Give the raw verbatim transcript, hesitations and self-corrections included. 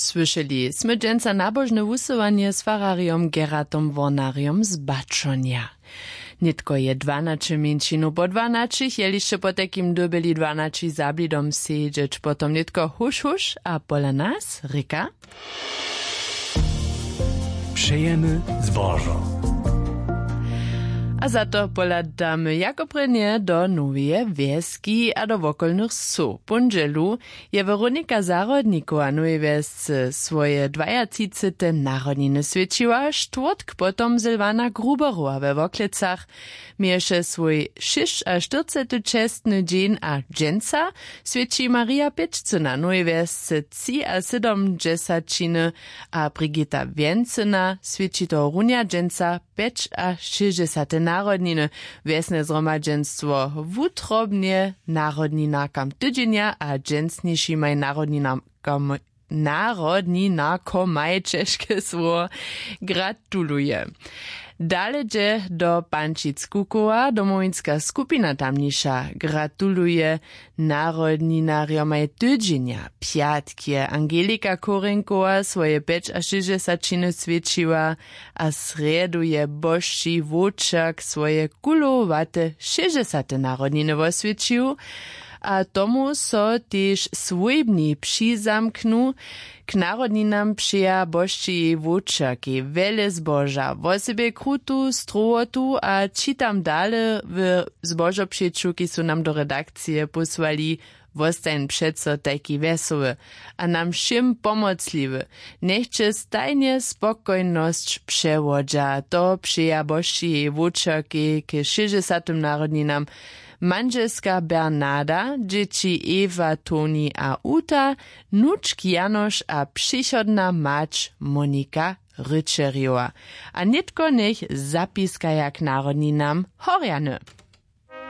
Słyšeli smy dźensa nabožne wusyłanje z fararjom Gerardom Wornarjom z Bačonja. Nětko je dwanaće mjeńšinow po dwanaćich, jelišće potajkim dyrbjeli dwanaći za blidom sedźeć, potom nětko huš huš a pola nas rěka. Přejemy zbožo. A za to pohladamy jako prěnje do Noweje Wjeski a do wokolnych wsow. Póndźelu je Weronika Zahrodnikowa w Nowej Wjesce swoje dwajatřicete narodniny swjećiła, štwórtk potom Sylwana Gruberowa we Worklecach měješe swój šěsćaštyrcety čestny dźeń a dźensa swjeći Marija Pěčcyna w Nowej Wjesce třiasydomdźesaćiny a Brigita Wjencyna swjeći tohorunja dźensa pjećašěsćdźesate narodniny. Wjesne zhromadźenstwo wutrobnje narodninarkam tydźenja a dźensnišimaj narodninarkam, narodninarkomaj, ćežke słowo, gratuluje. Dale dźe do Pančic Kukowa. Domowinska skupina tamniša gratuluje narodninarjomaj tydźenja. Pjatk je Angelika Korenkowa swoje pjećašěsćdźesaćiny swjećiła a srjedu je Božći Wowčerk swoje kulowate šěsćdźesate narodniny woswjećił. A tomu so tež swójbni přizamknu. K narodninam přeja Božći Wowčerkej wjele zboža, wosebje krutu strowotu a čitam dale w zbožopřeću, kiž su nam do redakcije pósłali. Wostajń přeco tajki wjesoły a nam wšěm pomocliwy. Njech će stajnje spokojnosć přewodźa. To přeja Božći Wowčerkej k šěsćdźesatym narodninam mandźelska Bernarda, dźěći Ewa, Toni a Uta, nučk Janoš a přichodna mać Monika Ryčerjowa. A nětko njech zapiskaja k narodninam horjany.